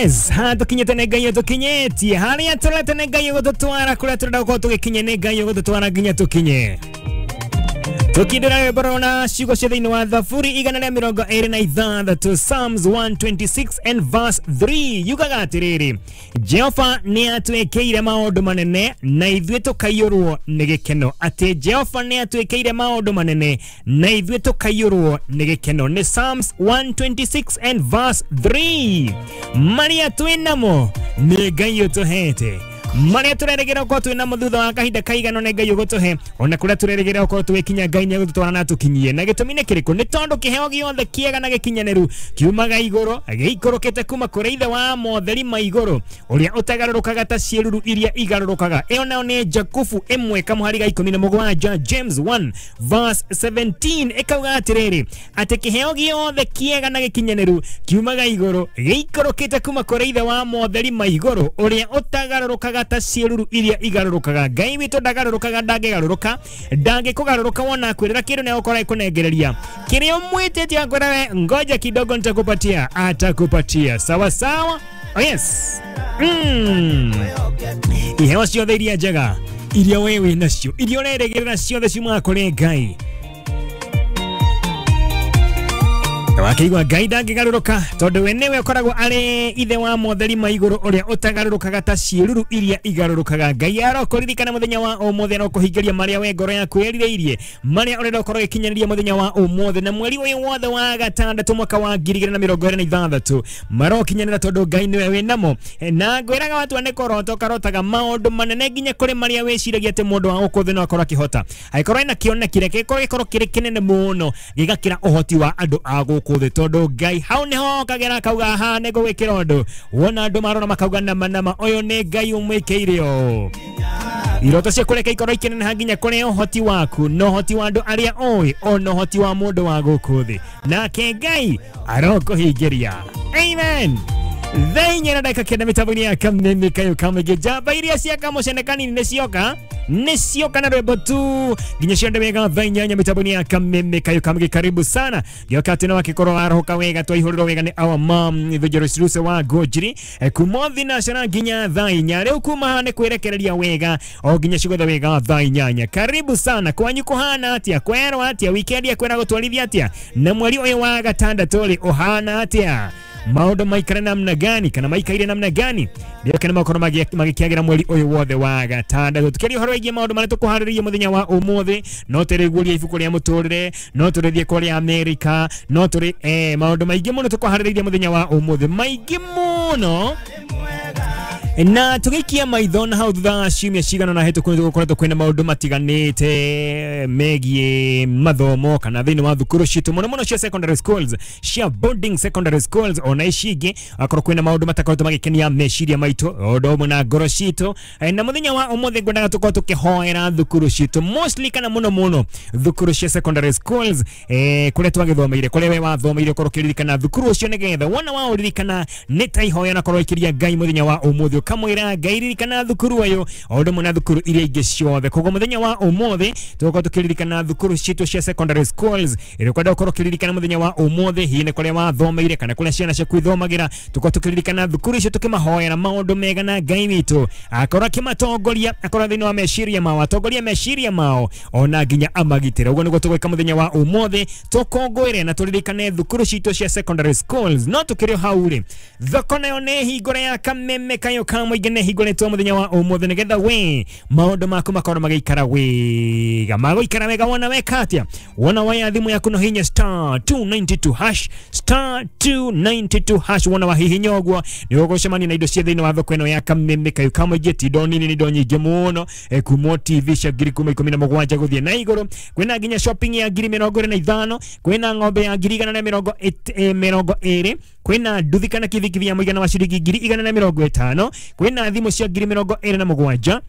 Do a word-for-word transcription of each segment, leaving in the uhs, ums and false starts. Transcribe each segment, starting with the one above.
Yes, ha tukinyete nĩ Ngai tũkinyĩtie harĩa tũrete nĩ Ngai gũtũtwara kũrĩa tũrenda gũkorwo tũgĩkinya nĩ Ngai gũtũtwara nginya tũkinye. Tukindira rwĩmbo na ciugo cia thĩinĩ wa Thaburi igana rĩa mĩrongo ĩrĩ na ithathatũ, Psalms one twenty-six and verse three yugaga atĩrĩrĩ, Jehova nĩ atwĩkĩire maũndũ manene na ithuĩ tũkaiyũrwo nĩ gĩkeno. Atĩ Jehova nĩ atwĩkĩire maũndũ manene na ithuĩ tũkaiyũrwo nĩ gĩkeno. Nĩ Psalms one twenty-six and verse three. Marĩa twĩ namo nĩ Ngai ũtũhete, marĩa tũrerĩgĩrĩra gũkorwo twĩ namo thutha wa kahinda kaigana nĩ Ngai ũgũtũhe, ona kũrĩa tũrerĩgĩrĩra gũkorwo twĩkinya Ngai nĩ egũtũtwara na atũkinyie. Na gĩtũmi nĩ kĩrĩkũ? Nĩ tondũ kĩheo gĩothe kĩega na gĩkinyanĩru kiumaga igũrũ, gĩikũrũkĩte kuma kũrĩ Ithe wa motheri ma igũrũ, ũrĩa ũtagarũrũkaga ta ciĩruru iria igarũrũkaga. Ĩyo nayo nĩ Jakubu ĩmwe kamũhari ga ikũmi na mũgwanja, James one verse seventeen, ĩkauga atĩrĩrĩ, atĩ kĩheo gĩothe kĩega na gĩkinyanĩru kiumaga igũrũ, gĩikũrũkĩte kuma kũrĩ Ithe wa motheri ma igũrũ, ũrĩa ũtagarũrũkaga ta ciĩruru iria igarũrũkaga. Ngai witũ ndagarũrũkaga, ndangĩgarũrũka, ndangĩkũgarũrũka wona akwĩrĩra kĩndũ nĩ egũkorwo agĩkũnengereria kĩrĩa ũmwĩtĩtie, akwĩra we ngoja kidogo nitakupatia, atakupatia. Sawa sawa. Oh yes. Mm. Iheo ciothe iria njega iria we wĩ nacio, iria ũrerĩgĩrĩra ciothe ciumaga kũrĩ Ngai. Wakĩigua Ngai ndangĩgarũrũka tondũ we nĩwe ũkoragwo arĩ ithe wa motheri ma igũrũ, ũrĩa ũtagarũrũkaga ta ciĩruru iria igarũrũkaga. Ngai arokũririkana mũthenya wa ũmũthĩ, arokũhingĩria marĩa we ngoro yaku ĩrirĩirie, marĩa ũrenda ũkorwo ũgĩkinyanĩria mũthenya wa ũmũthĩ na mweri ũyũ wothe wa gatandatũ mwaka wa ngiri igĩrĩ na mĩrongo ĩrĩ na ithathatũ marokinyanĩra tondũ Ngai nĩwe wĩ namo. Na ngwĩraga watu nĩ kũrota ũkarotaga maũndũ manene nginya kũrĩ marĩa wĩciragia atĩ mũndũ wa gũkũ thĩ no akorwo akĩhota. Angĩkorwo ena kĩoneki reke gĩkorwo gĩkorwo kĩrĩ kĩnene mũno gĩgakĩra ũhoti wa andũ a gũkũ thĩ, tondũ Ngai hau nĩho okagĩra akauga haha nĩ ngũgwĩkĩra ũndũ. Wona andũ marora makauga nama nama, ũyũ nĩ Ngai ũmwĩkĩire ũũ. Iroto ciaku reke ikorwo ikĩneneha nginya kũrĩ ũhoti waku na ũhoti wa andũ arĩa ũĩ ona ũhoti wa mũndũ wa gũkũ thĩ, nake Ngai arokũhingĩria. Amen. Thaa inya na ndagĩka kenda mĩtambo-inĩ ya Kameme Kayo Kamũingĩ. Njamba iria cia Kamũcene kanini nĩ cioka, nĩ cioka na rwĩmbo tu nginya cionde wega thaa inyanya mĩtambo-inĩ ya Kameme Kayo Kamũingĩ. Karibu sana gĩoka atĩ no akĩkorwo warohoka wega, twaihũrĩrwo wega nĩ our mom Evangelist Ruse wa Ngũnjiri kuma thinacara nginya thaa inya. Rĩu kuma haha nĩ kwĩrekereria wega o nginya cigothe wega thaa inyanya. Karibu sana. Kwanyu kũhana atĩa? Kwerwo atĩa? Wikendi yakwĩra gũtwarithia atĩa? Na mweri ũyũ wa gatandatũ rĩ ũhana atĩa? Maũndũ maikare namna gani kana maikaire namna gani? Ndio kana makorwo magĩkĩagĩra mweri ũyũ wothe wa gatandatũ. Tukĩaria ũhoro wĩgiĩ maũndũ marĩa tũkũharĩrĩria mũthenya wa ũmũthĩ, no tũrĩguũria ibuku rĩa mũtũrĩre, no tũrĩthiĩ kũrĩa Amerika, no tũrĩ eh, maũndũ maingĩ mũno tũkũharĩrĩria mũthenya wa ũmũthĩ, maingĩ mũno. Na tũgĩikia maitho na hau thutha wa ciumia cigana na hĩtũku nĩ tũgũkoretwo kwĩna maũndũ matiganĩte megiĩ mathomo kana thĩinĩ wa thukuru citũ mũno mũno cia secondary schools, cia boarding secondary schools, ona ici ingĩ akorwo kwĩna maũndũ matakoretwo magĩkenia meciria maitũ o ũndũ ũmwe na ngoro citũ. Na mũthenya wa ũmũthĩ ngwendaga tũkorwo tũkĩhoera thukuru citũ mostly kana mũno mũno thukuru cia secondary schools, eh, kũrĩa twagĩthomeire, kũrĩa we wathomeire, ũkorwo ũkĩririkana thukuru ũcio nĩgetha wona waũririkana nĩ ta ihoya na korwo ĩkĩria Ngai mũthenya wa ũmũthĩ, ũkamwĩra Ngai ririkana thukuru ũyũ o ũndũ ũmwe na thukuru iria ingĩ ciothe. Koguo mũthenya wa ũmũthĩ tũgũkorwo tũkĩririkana thukuru citũ cia secondary schools, ĩrĩa ũkwenda ũkorwo ũkĩririkana mũthenya wa ũmũthĩ, hihi nĩ kũrĩa wathomeire kana kũrĩa ciana ciaku ithomagĩra. Tũkorwo tũkĩririkana thukuru icio tũkĩmahoera maũndũ mega na Ngai witũ akorwo akĩmatongoria, akorwo thĩinĩ wa meciria mao, atongoria meciria mao ona nginya amagitĩre. Ũguo nĩguo tũgwĩka mũthenya wa ũmũthĩ, tũkũngũĩre na tũririkane thukuru citũ cia secondary schools. No tũkĩrĩ o hau rĩ, thoko nayo nĩ hingũre ya Kameme Kayo Kamũingĩ nĩ hingũrĩtwo mũthenya wa ũmũthĩ nĩgetha we maũndũ maku makorwo magĩikara wega, magũikara wega wona weka atĩa? Wona waya thimũ yaku no hinya star two ninety-two hash, star two ninety-two hash. Wona wahihinya ũguo nĩ ũgũcemania na indo cia thĩinĩ wa thoko ĩno ya Kameme Kayo Kamũingĩ. Ti indo nini, nĩ indo nyingĩ mũno, kuma T V cia ngiri kuma ikũmi na mũgwanja gũthiĩ na igũrũ, kwĩna nginya shopping ya ngiri mĩrongo ĩrĩ na ithano, kwĩna ng'ombe ya ngiri igana na mĩrongo mĩrongo ĩrĩ, kwĩna nduthi kana kibikibi ya mũigana wa ciringi ngiri igana na mĩrongo ĩtano, kwĩna thimũ cia ngiri mĩrongo ĩrĩ na mũgwanja,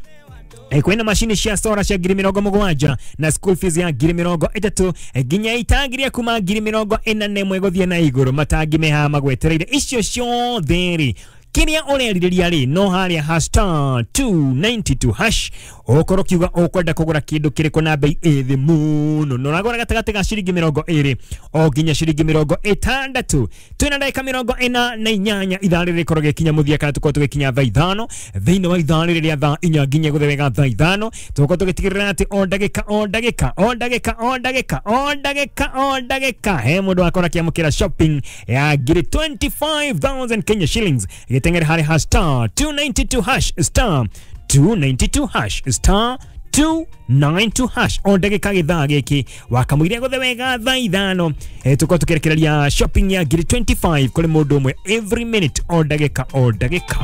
kwĩna macini cia sora cia ngiri mĩrongo mũgwanja na school fees ya ngiri mĩrongo ĩtatũ, nginya itangi rĩa kuma ngiri mĩrongo ĩna na ĩmwe gũthiĩ na igũrũ. Matangi me haha magwetereire. Icio ciothe rĩ Kiria ũrerirĩria rĩ no harĩa ha star two ninety-two hash ũkorwo kiuga ũkwenda kũgũra kĩndũ kĩrĩkũ na bei ĩ thĩ mũno na ũragũra gatagatĩ ga ciringi mĩrongo ĩrĩ o nginya ciringi mĩrongo ĩtandatũ. Twĩna ndagĩka mĩrongo ĩna na inyanya ithaa rĩrĩ rĩkorwo gĩkinya mũthia kana tũkorwo tũgĩkinya thaa ithano thĩinĩ wa ithaa rĩrĩ rĩa thaa inya nginya gũthiĩ wega thaa ithano tũkorwo tũgĩtigĩrĩra atĩ o ndagĩka o ndagĩka o ndagĩka o ndagĩka o ndagĩka o ndagĩka he mũndũ wakorwo akĩamũkĩra shopping ya ngiri twenty-five thousand Kenya shillings gĩteng'ere harĩ ha star two ninety-two hash star two ninety-two hash star two ninety-two hash o ndagĩka gĩthaa gĩkĩ wakamũiria gũthe wega thaa ithano e, tũkorwo tũkĩrekereria shopping ya ngiri twenty-five kũrĩ mũndũ ũmwe every minute o ndagĩka o ndagĩka.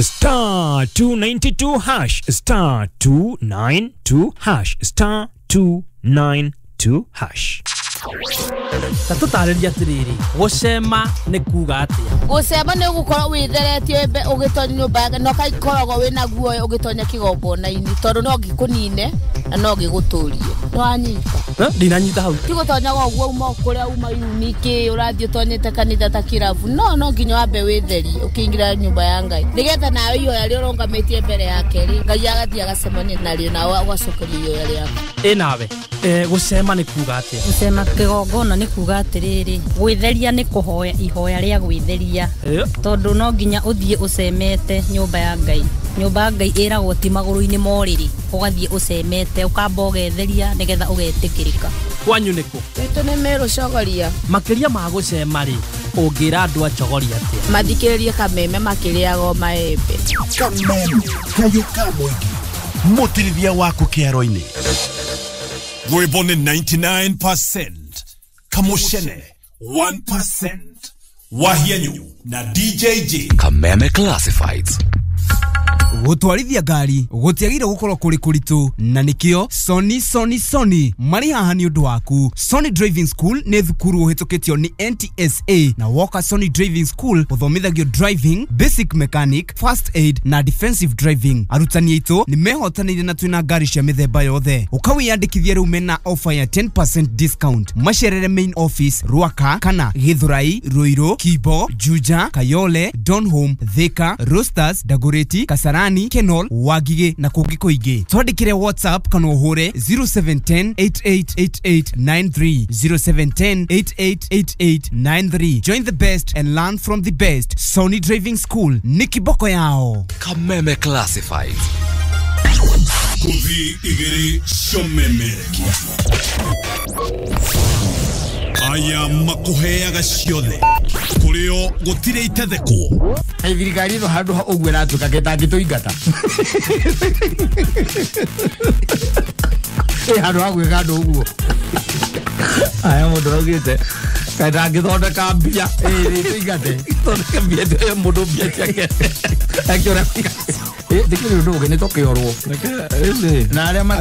Star two ninety-two hash star two ninety-two hash star two ninety-two hash. Ta tũtarĩrie atĩrĩrĩ, gũcema nĩ kuga atĩa? Gũcema nĩ gũkorwo wĩtheretie ũgĩtonya nyũmba na ũgakoragwo wĩna guoya ũgĩtonya kĩgongona-inĩ tondũ no gĩkũnine na no gĩgũtũrie. Nĩwanyita? Ndinanyita hau. Ti gũtonyaga ũguo uma kũrĩa uma yuniki ũrathiĩ ũtonyete kanitha ta kĩrabu. No no nginya wambe wĩtherie ũkĩingĩra nyũmba ya Ngai nĩgetha nawe ihoya rĩrĩa ũrũgamĩtie mbere yake rĩ Ngai agathiĩ agacemania narĩo nawe ũgacokeria ihoya rĩaku. Ĩ nawe gũcema nĩ kuga atĩa? Gũcema kĩgongona nĩ kuga atĩrĩrĩ, gwĩtheria nĩ kũhoya ihoya rĩa gwĩtheria tondũ no nginya ũthiĩ ũcemete nyũmba ya Ngai. Nyũmba ya Ngai ĩragwo ti magũrũ-inĩ ma ũrĩrĩ, ũgathiĩ ũcemete ũkamba ũgetheria nĩgetha ũgetĩkĩrĩka. Kwanyu nĩkũ? Gwitũ nĩ Meru Chogoria. Makĩria ma gũcema rĩ, ũngĩra andũ a Chogoria atĩa? Mathikĩrĩrie Kameme makĩrĩaga maembe. Kameme kayũ ka mũingĩ mũtirithia waku kĩaro-inĩ. Rwĩmbo nĩ ninety-nine percent Kamushene one percent Wahianyu na D J J. Kameme Classifieds. Gũtwarithia ngari gũtiagĩrĩire gũkorwo kũrĩ kũritũ na nĩkĩo Sony Sony Sony marĩ haha nĩ ũndũ waku. Sony Driving School nĩ thukuru ũhĩtũkĩtio nĩ N T S A na woka Sony Driving School ũthomithagio driving, basic mechanic, first aid na defensive driving. Arutani aitũ nĩ mehotanĩire na twĩna ngari cia mĩthemba yothe. Ũkawĩyandĩkithia rĩu mena offer ya ten percent discount. Macerere main office Ruaka kana Githurai, Ruiru, Kibo, Juja, Kayole, Donholm, Thika, Roasters, Dagoretti, Kasarani, Kenol, Wagige na kũngĩ kũingĩ. Twandĩkĩre WhatsApp kana ũhũre zero seven ten eight eight eight eight nine three zero seven ten eight eight eight eight nine three. Join the best and learn from the best. Sony Driving School ni kiboko yao. Kameme Classifieds. Kuthi igĩrĩ ciomeme. Aya makuheaga ciothe kũrĩo gũtirĩ itethekwo. Thirikari ĩno handũ ha ũguo ĩratuĩka gĩtangĩtũingata. Ĩ handũ ha gwĩka andũ ũguo. Aya mũndũ araugĩte kaĩ ndangĩthondeka mbia ĩ tũingate. Thondeke mbia ĩyo mũndũ mbia ciake. Akĩũra. Ĩ ndĩkĩrĩ ũndũ ũngĩ nĩ tũkĩorwo. Na arĩa